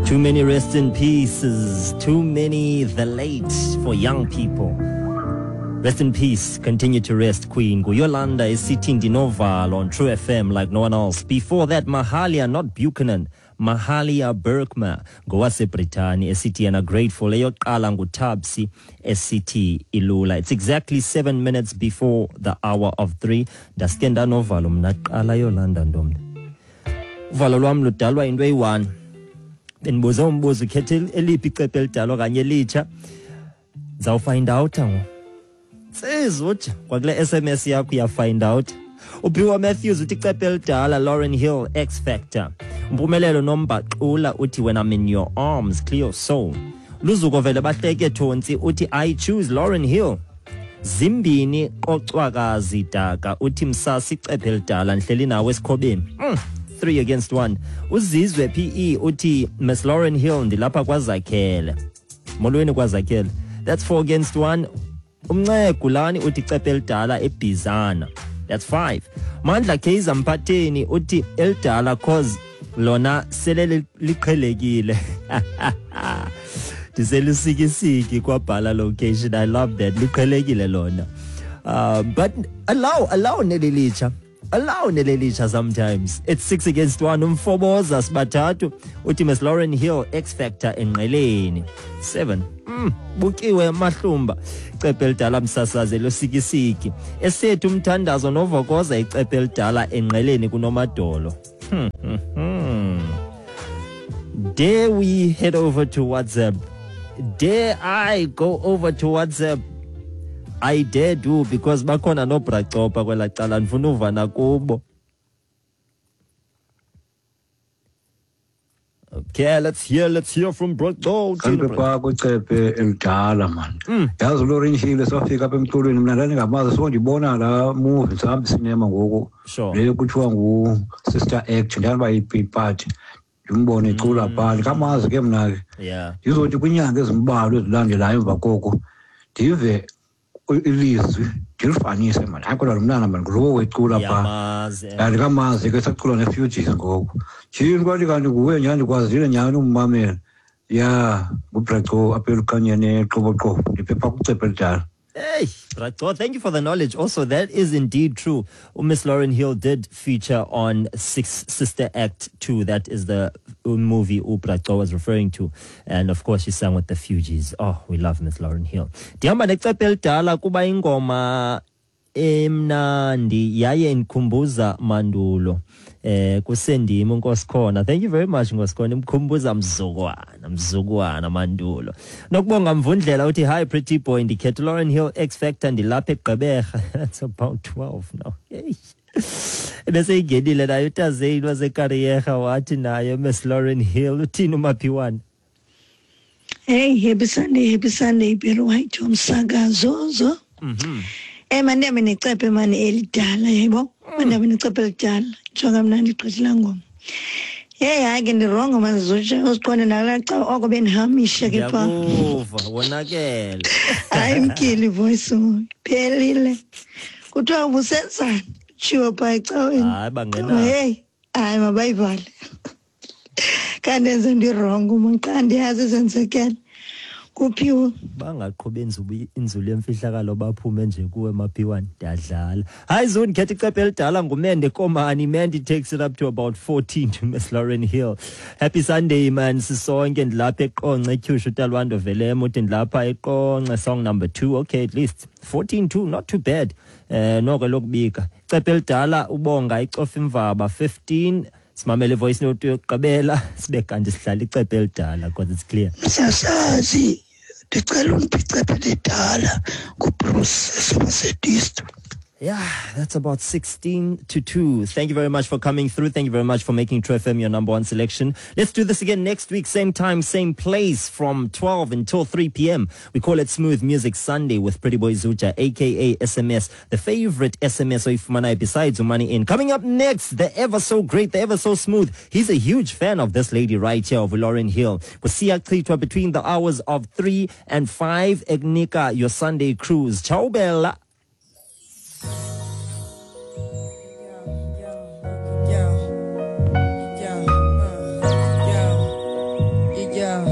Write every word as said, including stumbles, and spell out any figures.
Too many rest in pieces, too many the late for young people. Rest in peace, continue to rest, Queen. Yolanda is sitting Dinovalo on True F M like no one else. Before that, Mahalia, not Buchanan, Mahalia Berkma, ngowase Britani, esithi yena grateful. Eyokuqala nguTabsi, esithi ilula. It's exactly seven minutes before the hour of three. Ndaske ndanovalo mna kuqala, Yolanda ntombi. Uvalo lwam ludalwa into eyi-one. Bendibuze umbuzo, ukhethe eliphi icephe elidala okanye elitsha? Ndizawufind out ngoku. Sizutsha kwakule S M S yakho uyafind out. Uphiwa Matthews uthi icephe elidala, Lauryn Hill, X Factor. Mpumelelo Nombaxula uthi when I'm in your arms, Cleo Soul. Luzuko vele bahleke Thontsi uthi I choose Lauryn Hill. Zimbini Qocwakazi Daka uthi msasi icephe elidala ndihleli nawe esikhobeni. Mm. Three against one. Uzizwe P E uthi Miss Lauryn Hill ndilapha kwaZakhele. Molweni kwaZakhele. That's four against one. Umncegulani uthi icephe elidala eBhizana. That's five. Mandla Kaiser Mphatheni uthi elidala cause lona sele liqhelekile. Ndiselusikisiki kwabhala location. I love that. Liqhelekile lona. Uh, but allow allow nelilitsha. Allow nelelitsha sometimes. It's six against one. Umfoboza sibathathu uthi Miss Lauryn Hill, X Factor enqeleni. Seven. Mm, bukiwe mahlumba. Icephe elidala msasaze losikisiki. Esethu umthandazo novokoza icephe elidala enqeleni kunomadolo. Hmm, hmm, hmm. Dare we head over to WhatsApp? Dare I go over to WhatsApp? I dare do, because bakhona no bracopa kwela cala ndifuna uva nakubo. Okay, let's hear, let's hear from Braco. Kanti pha kwicephe elidala man. Yazi Lauryn Hill safika apha emculweni mina ndandingamazi, so ndibona la movie sihamba cinema ngoku. Le kuthiwa ngu Sister Act, ndihamba ipart. Ndimbone ecula phaa, ndikamazi ke mna ke. Yeah. Ndizothi kwinyanga ezimbalwa ezilandelayo emva koko ndive ilizwi ndilifanise mani. Hayi kodwa lo mntana mani ngulowo wecula phaa. Andikamazi ke sacula neFugees ngoku. Tyhini kwathi kanti nguye nyhani, ndikwazile nyhani ummamela. Ya, nguBraco apha elukhanyeni eQoboqobo, ndiphepha kwicephe elidala. Hey, Braco, thank you for the knowledge. Also, that is indeed true. Miss Lauryn Hill did feature on Six Sister Act two. That is the movie uBraco was referring to. And of course, she sang with the Fugees. Oh, we love Miss Lauryn Hill. Ndihamba necephe elidala kuba ingoma emnandi yaye indikhumbuza mandulo. Eh kusendimi uNkosikhona. Thank you very much Nkosikhona, imkhumbuza mzukwana, mzukwana mandulo. Nokubonga Mvundlela uthi hi pretty boy, ndikhetha Lauryn Hill X Factor ndilapha eGqeberha. That's about twelve now. Hey. Bese ingenile nayo uTazeyini waseKariyerha wathi nayo Miss Lauryn Hill. Uthini uMaphiwane? Hey, happy Sunday, happy Sunday Belo white umsakazo zo. Mhm. Eh mandihambe necephe mani elidala yebo. Mandihambe necephe elidala. Jonga mna ndigqithela ngoma. Hey hayi ke ndirongo mazizotsha usiqonde nakulaa cawa oko bendihamisha ke phaa. Ndiyakuva wonakele. Hayi mkili voice phelile. Kuthiwa ubusenzani? Tshiwo phaa ecaweni. Hayi bangena. Hey, hayi mabayivale. Kanti enze ndirongo mna xa ndiyazi ezenzekele. Kuphiwe bangaqhubi inzulu yemfihlakalo baphume nje kuwe Maphiwane, ndiyadlala. Hayi Zone, khetha icephe elidala ngumende Komani. Mandy takes it up to about fourteen to Miss Lauryn Hill. Happy Sunday man, sisonke ndilapha eQonce eTyhushu uTalwando Velemo uthi ndilapha eQonce song number two. Okay, at least fourteen two, not too bad. Eh noko lokubika. Icephe elidala ubonga icofa imvaba fifteen. Simamele voice note yokugqibela sibe kanti sihlala icephe elidala because it's clear. Msasazi ndicela undiphe icephe elidala nguBruce eSomerset. Yeah, that's about sixteen to two. Thank you very much for coming through. Thank you very much for making True F M your number one selection. Let's do this again next week, same time, same place, from twelve until three p m. We call it Smooth Music Sunday with Pretty Boy Zucha, aka S M S, the favorite S M S oyifumanai besides Umani In. Coming up next, the ever so great, the ever so smooth. He's a huge fan of this lady right here, of Lauryn Hill. Kusiya Chitwa between the hours of three and five. Egnika, your Sunday cruise. Ciao, Bella. Yeah, yeah, yeah, yeah, Yeah,